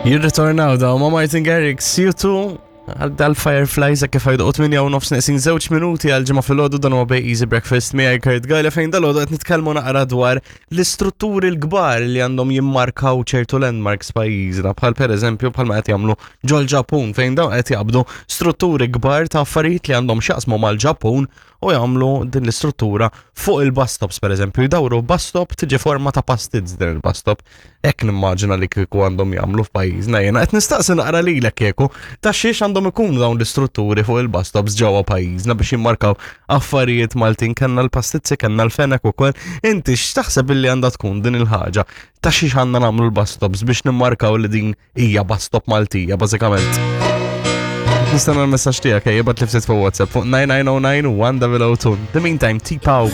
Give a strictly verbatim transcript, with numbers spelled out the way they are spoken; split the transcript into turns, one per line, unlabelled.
Jirritornaw daw ma' Martin Garrix, U two, għal dal-Fireflies kif għajdu tmienja u nofs neqsin żewġ minuti għal ġimgħa filgħodu. Dan huwa Bay Easy Breakfast miegħi Kurt Gajla, fejn dalgħodu qed nitkellmu naqra dwar l-istrutturi l-kbar li għandhom jimmarkaw ċertu landmarks pajjiżna, bħal pereżempju bħalma qed jagħmlu ġol-Ġapun, fejn dawn qed jaqbdu strutturi kbar ta' affarijiet li għandhom x'jaqsmu mal-Ġapun u jagħmlu din l-istruttura fuq il-bus stops. Pereżempju, jdawru bus stop, tiġi forma ta' pastizz din il-bus stop. Hekk nimmaġina li kieku għandhom jagħmlu f'pajjiżna. Jiena qed nistaqsi naqra lilek kieku ta' xiex għandhom ikunu dawn l-istrutturi fuq il-bus stops ġewwa pajjiżna biex jimmarkaw affarijiet Maltin. Kellna l-pastizzi, kellna l-fenek ukoll. Inti x'taħseb illi għandha tkun din il-ħaġa? Ta' xiex għandna nagħmlu l-bus stops biex nimmarkaw li din hija bus stop Maltija, bażikament? Nistenna l-messaġġ tiegħek, ejja, ibgħatli ftit fuq WhatsApp fuq nine nine zero nine one zero zero two. The meantime, T-Pow.